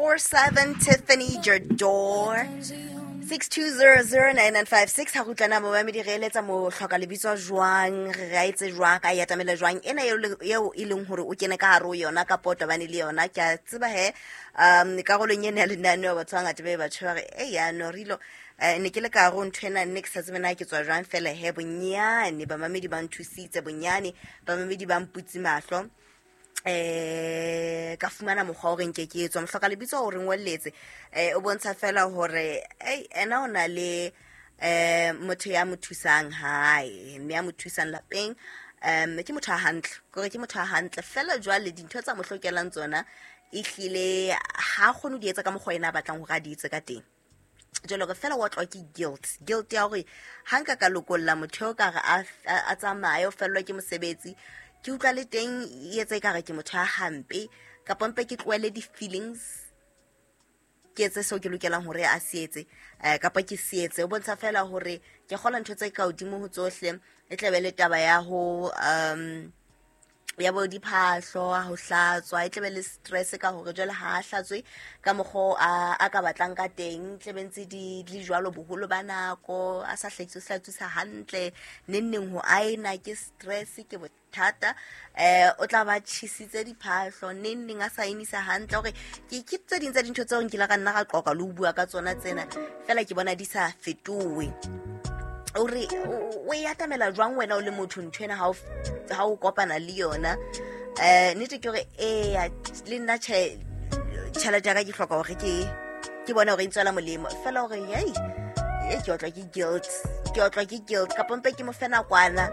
24/7 Tiffany Jador. 62009956 ha re utlwana momamedi, re eletsa mohloka lebitso jwang, re a etse jwang, ka e atamela jwang ena eo e leng hore o kene ka hare ho yona kapa o tobane le yona. Ke a tseba he karolong ena ya lenaneo batho ba bangata be batho ba re e yano rilo, ne ke le ka hare ho ntho ena, nne ke sa tsebe na ke tswa jwang. Fela he bonyane bamamedi ba nthusitse, bonyane bamamedi ba mputse mahlo, ka fumana mokgwa o reng ke ke etswa. Mohloka lebitso o re ngolletse, o bontsha fela hore ei ena o na le motho ya mo thusang hae, mme ya mo thusang lapeng ke motho a hantle, kore ke motho a hantle fela. Jwale dintho tsa mo hlokelang tsona ehlile ha kgone ho di etsa ka mokgwa ena a batlang hore a di etse ka teng. Jwale hore fela wa tlwa ke guilt ya hore ha nka ka lokolla motho eo ka re a tsamaye, o fellwa ke mosebetsi, ke utlwa le teng e etsa ekare ke motho a hampe, kapa mpe ke tlohele di-feelings, ke etse seo ke lokelang hore a se etse, kapa ke se etse. O bontsha fela hore ke kgola ntho tse ka hodimo ho tsohle e tla be le taba ya ho ya bo diphahlo, ho hlatswa, e tlabe le stress ka hore jwale ha a hlatswe ka mokgwa a ka batlang ka teng, tlabe ntse di le jwalo boholo ba nako, a sa hlatswe hlatswisa hantle, neng neng ho aena ke stress, ke bothata, o tla ba tjhisitse diphahlo, neng neng a sa enisa hantle. Hore ke tse ding tsa dintho tseo nkile ka nna ka qoqa le ho bua ka tsona tsena, fela ke bona di sa fetohe. O re o e atamela jwang wena o le motho ntho ena ha o kopana le yona? Nnete ke hore eya le nna tjhelete ya ka ke hloka hore ke bone hore e ntswela molemo, fela hore hei e ke otlwa ke guilt, ke otlwa ke guilt, kapa mpe ke mo fe nakwana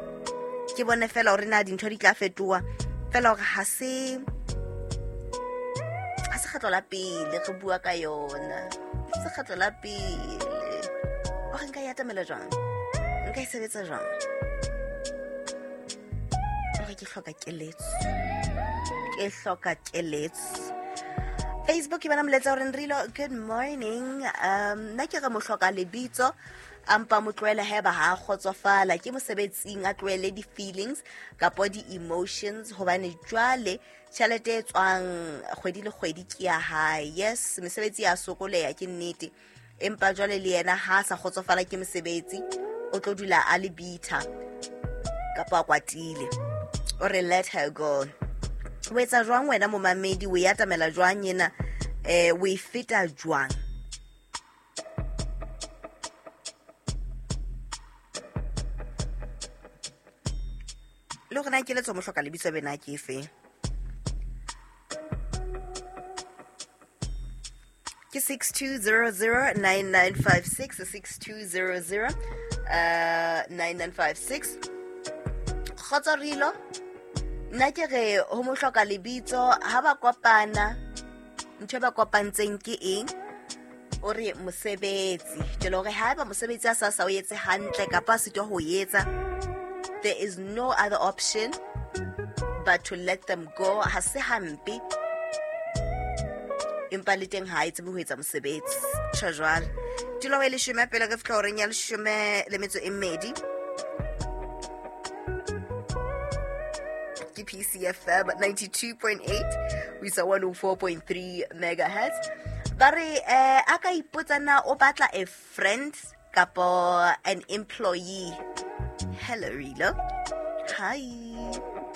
ke bone fela hore na dintho di tla fetoha. Fela hore ha se kgetlo la pele re bua ka yona, se kgetlo la pele. Hore nka e atamela jwang, nka e sebetsa jwang? Hore ke hloka keletso, ke hloka keletso. Facebook ke bona moletsa hore Nrilo, good morning. Nna ke re mohloka lebitso a mpa mo tlohele haeba ha a kgotsofala ke mosebetsing, a tlohele di-feelings kapa di-emotions, hobane jwale tjhelete e tswang kgwedi le kgwedi ke ya hae. Yes, mesebetsi ya sokoleha ke nnete, empa jwale le yena ha a sa kgotsofala ke mosebetsi, o tlo dula a le bitter kapa a kwatile. O re let her go. O etsa jwang wena momamedi, o e atamela jwang ena, o e feta jwang? Le hore na keletso mohloka lebitso bena ke efe? Ke 62009956, 6200 9956. Kgotso Rilo, nna ke re ho mohloka lebitso ha ba kopana, ntho e ba kopantseng ke eng? O re mosebetsi. Jwale hore haeba mosebetsi a sa o etse hantle kapa a sitwa ho etsa, there is no other option but to let them go. Ha se hampe, empa le teng ha e tsebe ho etsa mosebetsi. Tjho jwale. Tulo e leshome pele re fihla horeng ya 12:40. Ke PCFM 92.8 ho isa 104.3 megahertz. Ba re a ka ipotsa na o batla a friend kapo an employee. Hello Rilo. Hi.